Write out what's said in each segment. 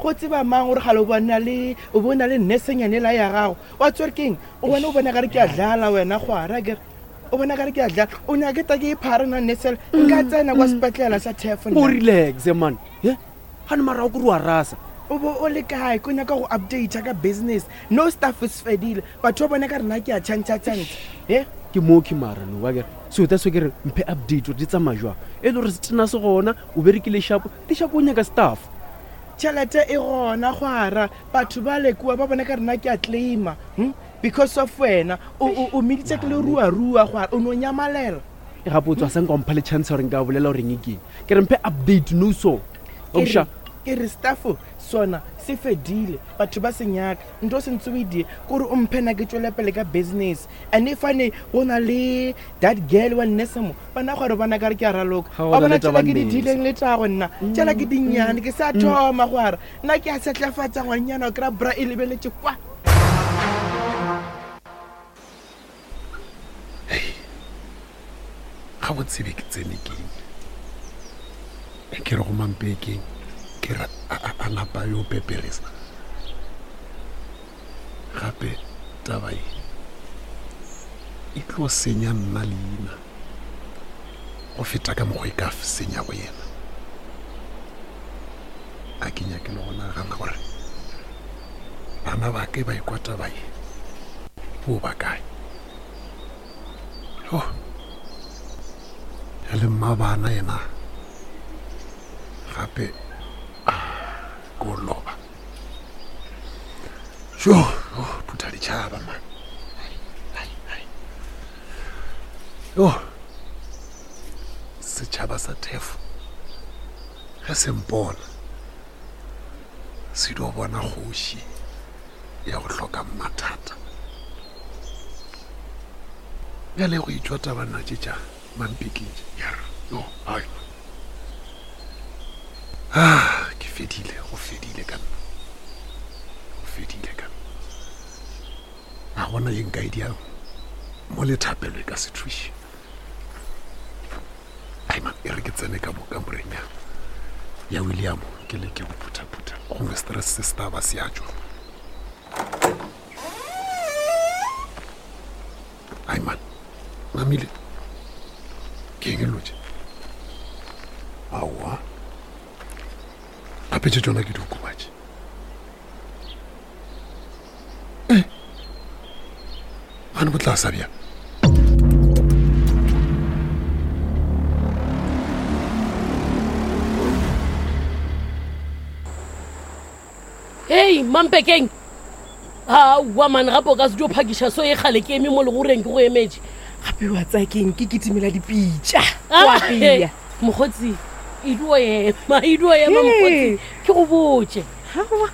Go tseba mang gore gale o bona le o bo na le nnesenyane la ya gago. Wa tswere keng? O bona o bona kare ke a dlala wena gwara kere. O bona kare ke a dlala. O nyake ta ke e phara nna nnesela. Nka tsena kwa sepetlela sa thefo O nna. relaxe man. He? Gane mara o kore wa rasa. O bo o le kae? Ko nyaka go update ka business. No staff is fedile. Batho ba bona ka rena ke a tšhantšha tšhantšha. He? Ke mooki mara no wa kere. So that's why ke re mphe update gore di tsamaya jwang. E le gore setena se gona, o berekile shapo, di shapo o nyaka staff. Tšhelete e gona gwara. Batho ba le kua ba bona ka rena ke a claima. Hm? Because of wena. O o o meditse ke le rua rua gwara. O no nyamalela. E gape o tswa sa nka o mpha le chance gore nka bolela gore eng keng. Ke re mphe update no so. Ke re, Oksha. ke re staff sona se fedile. Batho ba se nyaka. Nto se ntse o e die kore o mphe na ke tšwele pele ka business. And if ane go na le that girl wa nnese mo, bana gore bona ka re ke a raloka. Ga go Wa na bona le tšela taba ke di nnese. dileng le tšago nna. Tšela ke dinnyane ke sa thoma gwara. Nna ke a setlafatša ngwanyana o kry-a bra e lebeletše kwa. Ga bo tsebe ke tsene keng. E ke re go mampekeng ke re a napa yo peperesa. Gape taba e e tlo senya nna leina go feta ka mokgwa e ka senya go yena. A ke nyake le go nagana gore bana ba ke ba ikwa taba ye bo ba kae. Oh. Ya le mma bana yena gape ko loba. Jo, oh, phutha ditšhaba man. Ai, ai. Yo. Setšhaba sa Thefo ge se mpona se dio bona kgoši ya go hloka mathata. Bjale go itšwa tabana tše tša mampekeng tše. Yo, ai. Ah, ke fedile, go fedile ka nna. Go fedile ka nna. A gona ye nka e diang mo le thapelo e ka se thuše. Ai man, e re ke tsene ka mo kamoreng ya ya William ke leke go phuthaphutha gongwe stress se se tla ba se a tšwa. Ai man, namile ke eng e lotše? Aowa, gape tše tšona ke diokobatši. Eh, gane bo tla sa bjang? Hei, Mampekeng. Aowa man, gape o ka se tlo phakiša so e kgale ke eme mo legoreng ke go emetše. Gape wa tsaya keng ke kitimela dipitša. Ah, Wa apea. Mokgotsi, e dio ema, e dio ema mokgotsi, ke go botše. Aowa,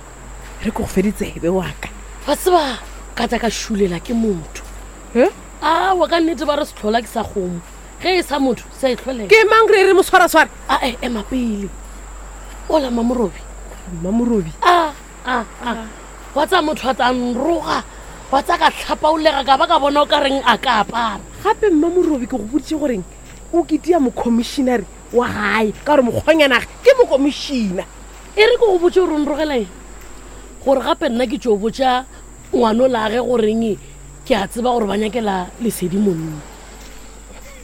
re ko go fe ditsebe wa ka. Wa tseba, ka tla ka šulela ke motho. He? Aowa, ka nnete ba re sehlola ke sa kgomo. Ge e sa motho, sa e hlolela. Ke mang re re moswaraswara? A e, ema pele. Ola Mamorobi. Mamorobi? A, a, a. Wa tsaya motho a tla nroga, wa tsaya ka tlhapaolega ka ba ka bona o ka reng a ka apara. Gape Mmamorobi ke go boditše goreng o ketia mokomišinare wa gae ka gore mokgwanyanage ke mokomišina. E re ke go botše gore o nrogela eng, gore gape nna ke tšo botša ngwanolage goreng ke a tseba gore ba nyakela Lesedi monna.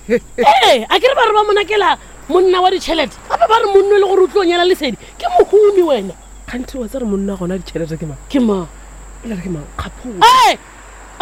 Ee, a ke re ba re ba mo nyakela monna wa ditšhelete, gape ba re monno e le gore o tlo nyala Lesedi ke mohumi wena. Kganthe wa tseba gore monna gona ditšhelete ke mang? Ke mang? O le re ke mang? Kgapholo. Ee,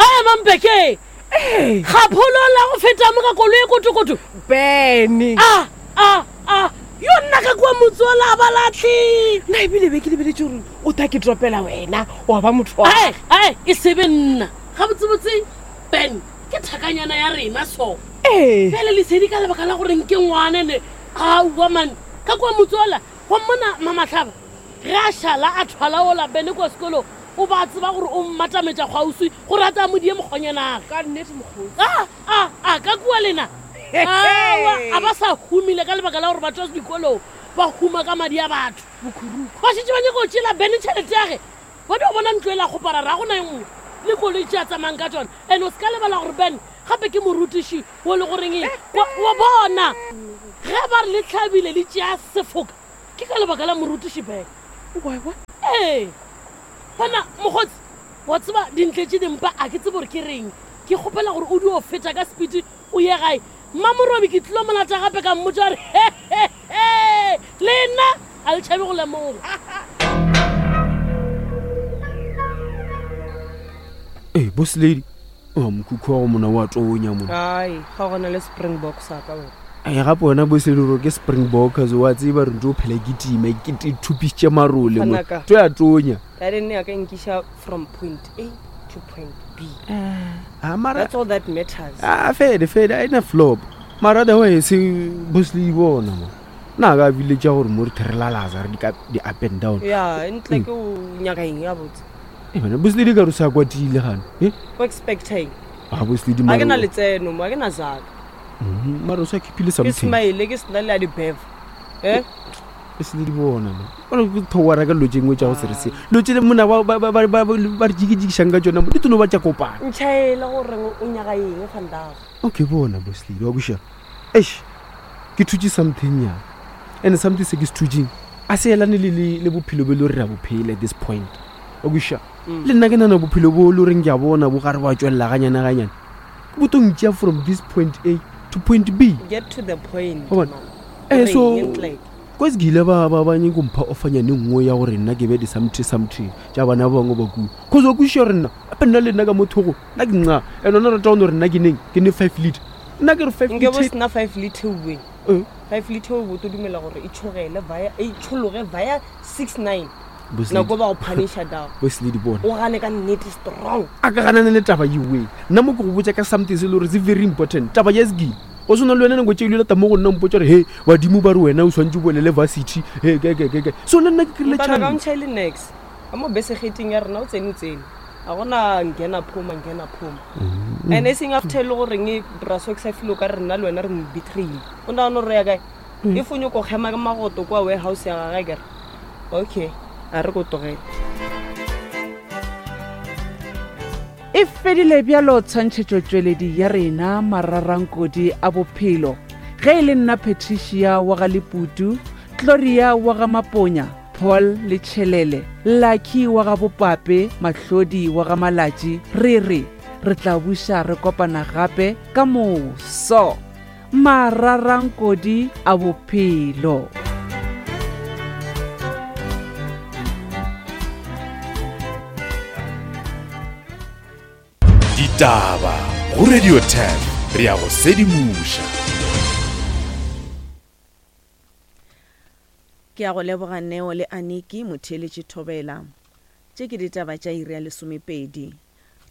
ee, Mampeke. Ee. Kgapholo la go feta mo ka koloi e kotokoto. Bene. A, a, a, yo nna ka kua motse ola ba latlhe. Nna ebile be ke lebeletše gore o tla ke topela wena wa ba motho wa. Ee, ee, e se be nna. Gabotsebotse Ben ke thakanyana ya rena so. Ee. Bjale Lesedi ka lebaka la gore nke ngwane ne aowa man ka kua motse ola wa mmona Mamahlaba ge a šala a thwala ola Bene kua sekolong o ba tseba gore o mmatametša kgauswi gore a tla mo die mokgonyanage. Ka nnete mokgotsi. A, a, a, ka kua lena. Aowa, a ba sa humile ka lebaka la gore ba tšwa dikolong ba huma ka madi a batho. Bokhuruku. Ba šetše ba nyaka go tšeela Bene tšhelete ya ge. Ba dio bona ntlo e la kgopara ra gona e nngwe le koloi tše a tsamayang ka tšona. And o se ka lebala gore Ben gape ke morutiši wo le goreng eng wa, wa bona ge ba re le hlabile le tšea sefoka ke ka lebaka la morutiši Ben. Wa bona? Ee, bona mokgotsi, wa tseba dintle tše dimpa a ke tsebe gore ke reng. Ke kgopela gore o dio feta ka sepiti o ye gae. Mmamorobi ke tlilo mo lata gape ka mmotša gore he he he le nna a le tšhabe go lemoga. Ee, boss lady, a mokhukhu wa go mona wa tonya mona. Ai, ga gona le springbok sa ka wena. Ai gape wena boss lady gore ke springbok so wa tseba re ntse o phela ke time ke te thupisitše marole mo. Ngwanaka. To ya tonya. Garden ya ka e nkiša from point A to point B. Ah mara That's all that matters. Ah fede fede a ina flop. Mara otherwise boss lady bona mo. Na ka bile tša gore mo re therelalaza re di ka di up and down. Ya, ntle ke o nyaka eng ya botse. Eh bana boss lady ka re sa kwatile gane. Eh? O expecta eng? Ah boss lady Ga mara. ke na letseno mo, ga ke na zaka. Mhm, Mara o sa keepile Ke something. smile ke sena le ya di-bev. Eh? E se le di bona mo. Bona ke thowara ka dilo tše nngwe tša go se re se. Dilo tše le mona ba ba ba ba ba re jikijikišang ka tšona mo di tlo no ba tša kopana. Ntšhaela gore o nyaka eng vandag. Okay bona boss lady wa kweša. Eish ke thutše something nyana. And something se ke se thutšeng a se elane le le le bophelo bo e le gore re a bo phela at this point. Wa kweša. Le nna ke nana bophelo bo le goreng ke a bona bo gare ba tšwelela ganyane ganyane. Bo tlo ntšea from this point A to point B. Get to the point. Wa bona? man. Eh, Gore so eng ntle? kwa se ke ile ba ba ba nyako mpha ofanyane nngwe ya gore nna ke be di-something something tša bana ba bangwe ba kua cause wa kwešiša gore nna gape nna le nna ka mothogo nna ke nca and ona rata gone gore nna ke neng ke ne five liter nna ke re five Nke bo liter sena five liter uwe. Eh. Five liter o bo to dumela gore e tšhogele via e tšhologe via six nine. Boss Nako lady- ba go punisha down. boss lady bona O gane ka nnete strong. a ka ganane le taba ewe nna mo ke go botša ka something se e le gore se very important taba ya sekile go swana le wena nako tše ile lata mo go nna mpotsa gore he badimo ba re wena o swantse o bolele varsity he ke ke ke ke so le nna ke kry-ile Mpana ka chance ntšhaele nex. Ka mo besegeteng ya rena o tsene o tsene. Ga gona ngena phoma ngena phoma. And e seng after e le goreng e braso ke sa feel o ka re nna le wena re mo betrayile. O nagana gore re ya kae? If o nyoko kgema ka magoto kwa warehouse ya gagwe kere. Okay, a re ko tlogele. E fedile bjalo tshwantšhetšotšweledi ya rena mararankodi a bophelo. Ge e le nna Patricia wa ga Leputu, Gloria wa ga Maponya, Paul le Tšhelele, Lucky wa ga Bopape, Mahlodi wa ga Malatši, re re re tla buša re kopana gape ka moso. Mararankodi a bophelo. Ditaba go Radio 10 re a go sedimoša. Ke a go leboga Neo le Aniki motheeletši Thobela. Tše ke ditaba tša iri ya lesomepedi.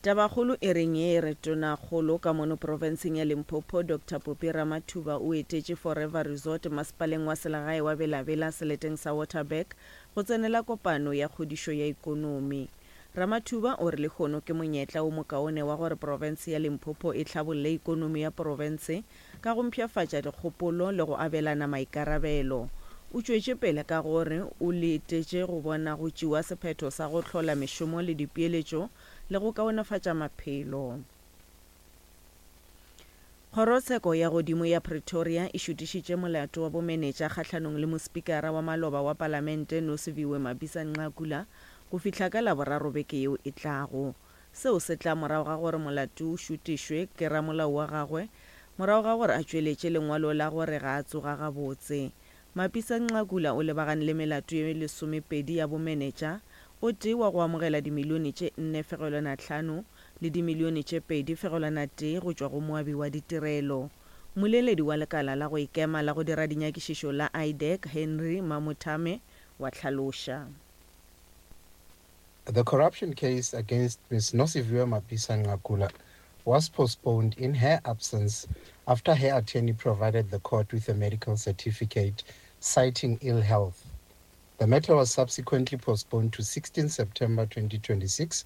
Tabakgolo e reng ye e re Tonakgolo ka mono profenseng ya Limpopo Doctor Phophi Ramathuba o etetše Forever Resort masepaleng wa selegae wa Bela-Bela seleteng sa Waterberg go tsenela kopano ya kgodišo ya ikonomi. Ramathuba o re lehono ke monyetla wo mokaone wa gore profense ya Limpopo e hlabolle ikonomi ya profense ka go mpshafatša dikgopolo le go abelana maikarabelo. O tšwetše pele ka gore o letetše go bona go tšewa sephetho sa go hlola mešomo le dipeeletšo le go kaonefatša maphelo. Kgorotsheko ya Godimo ya Pretoria e šutišitše molato wa bomenetša kgahlanong le mospikara wa maloba wa palamente Nosiviwe Mapisa-Nqakula go fihla ka Laboraro beke yeo e tlago. Seo se tla morago ga gore molato o šutišwe ke ramolao wa gagwe morago ga gore a tšweletše lengwalo la gore ga a tsoga gabotse. Mapisa-Nqakula o lebagane le melato ye lesomepedi ya bomenetša, o tee wa go amogela dimilione tše 4.5 le dimilione tše 2.1 go tšwa go moabi wa ditirelo. Mmoleledi wa lekala la go ikema la go dira dinyakišišo la IDAC, Henry Mamothame, wa hlaloša. The corruption case against Ms. Nosiviwe Mapisa-Nqakula was postponed in her absence after her attorney provided the court with a medical certificate citing ill health. The matter was subsequently postponed to 16 September 2026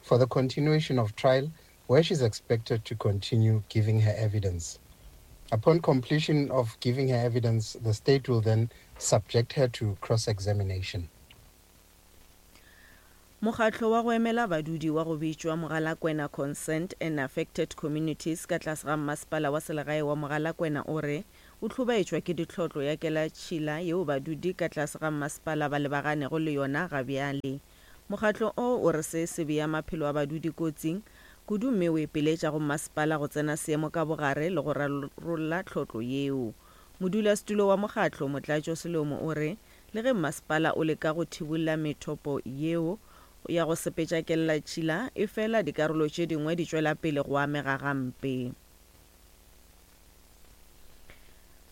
for the continuation of trial, where she's expected to continue giving her evidence. Upon completion of giving her evidence, the state will then subject her to cross-examination. Mokgatlo wa go emela badudi wa go bitšwa Mogalakwena Concerned and Affected Communities ka tlase ga Mmasepala wa Selegae wa Mogalakwena o re o hlobaetšwa ke ditlhotlo ya kelatšhila yeo badudi ka tlase ga mmasepala ba lebaganego le yona gabjale. Mokgatlo o o re se se bea maphelo a badudi kotsing kudu mme o ipiletša go mmasepala go tsena seemo ka bogare le go rarolla tlhotlo yeo. Modulasetulo wa mokgatlo, Motlatšo Selomo o re le ge mmasepala o leka go thibolla methopo yeo ya go sepetša kellatšhila, efela dikarolo tše dingwe di tšwela pele go amega gampe.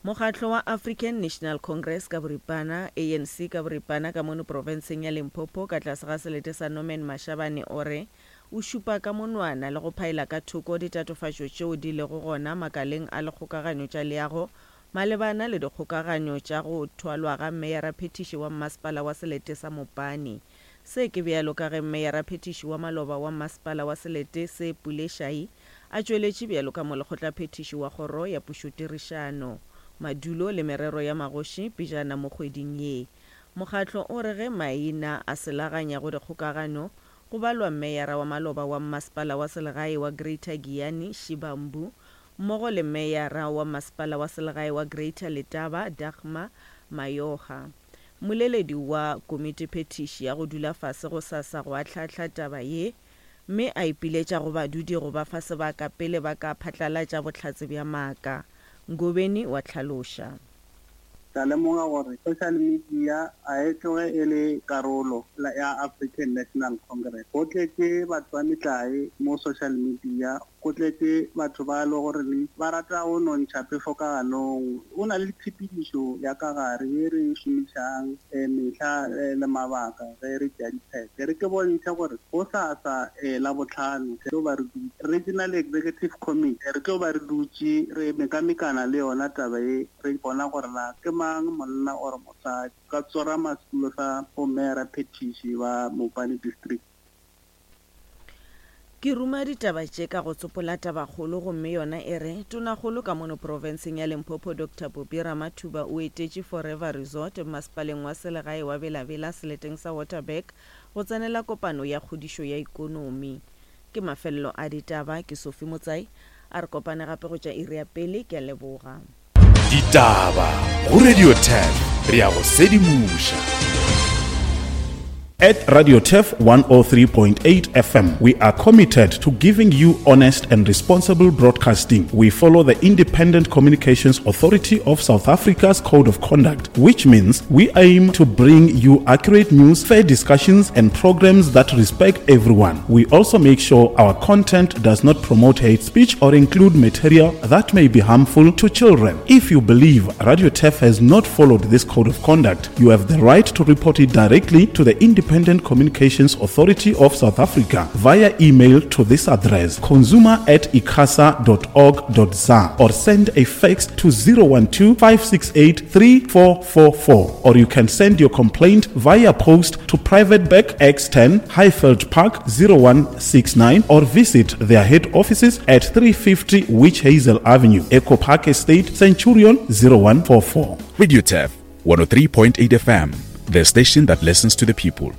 Mokgatlo wa African National Congress ka boripana, ANC ka boripana, ka mono profenseng ya Limpopo ka tlase ga selete sa Norman Mashabane o re o šupa ka monwana le go phaela ka thoko ditatofatšo tšeo di lego gona makaleng a lekgokaganyo tša leago malebana le dikgokaganyo tša go thwalwa ga meyaraphethiši wa mmasepala wa selete sa Mopani. Se ke bjalo ka ge meyaraphethiši wa maloba wa mmasepala wa selete se Pule Shayi a tšweletše bjalo ka molekgotlaphethiši wa Kgoro ya Pušotirišano, Madulo le Merero ya Magoši pejana mo kgweding ye. Mokgatlo o re ge maina a selaganya go dikgokagano, go balwa meyara wa maloba wa mmasepala wa selegae wa Greater Giyani, Shibambu, mmogo le meyara wa masepala wa selegae wa Greater Letaba, Dagmar Mayoga. Mmoleledi wa komitiphethiši ya go dula fase gosasa go ahlaahla taba ye, mme a ipiletša go badudi go ba fa sebaka pele ba ka phatlalatša bohlatse bja maaka. Ngobeni wa hlaloša. Ka lemoga gore social media ga e tloge e le karolo ya African National Congress. Go tletše batho ba metlae mo social media, go tletše batho ba e le goreng ba rata go no ntšha phefo ka ganong. Go na le tshepedišo ya ka gare ye re e šomišang mehla le mabaka ge re tšea diphetho. E re ke bontšhe gore gosasa Labohlano re tlo ba re dutše Regional Executive Committee, re tlo ba re dutše re mekamekana le yona taba ye, re bona gore na ke mang monna or mosadi ka tsorama setulo sa bomeyara phethiši ba Mopani District. Ke ruma ditaba tše ka go tsopola tabakgolo gomme yona e re, Tonakgolo ka mono profenseng ya Limpopo Doctor Phophi Ramathuba o etetše Forever Resort mmasepaleng wa selegae wa Bela-Bela seleteng sa Waterberg go tsenela kopano ya kgodišo ya ikonomi. Ke mafelelo a ditaba, ke Sophie Motsai, a re kopane gape go tša iri ya pele, ke a leboga. Ditaba go Radio 10 re a go sedimoša. At Radio Turf 103.8 FM, we are committed to giving you honest and responsible broadcasting. We follow the Independent Communications Authority of South Africa's Code of Conduct, which means we aim to bring you accurate news, fair discussions, and programs that respect everyone. We also make sure our content does not promote hate speech or include material that may be harmful to children. If you believe Radio Turf has not followed this code of conduct, you have the right to report it directly to the Independent Communications Authority of South Africa via email to this address consumer at icasa.org.za or send a fax to 012 568 3444 or you can send your complaint via post to Private Bank X10 Highveld Park 0169 or visit their head offices at 350 Witch Hazel Avenue, Echo Park Estate, Centurion 0144. Radio Turf 103.8 FM, the station that listens to the people.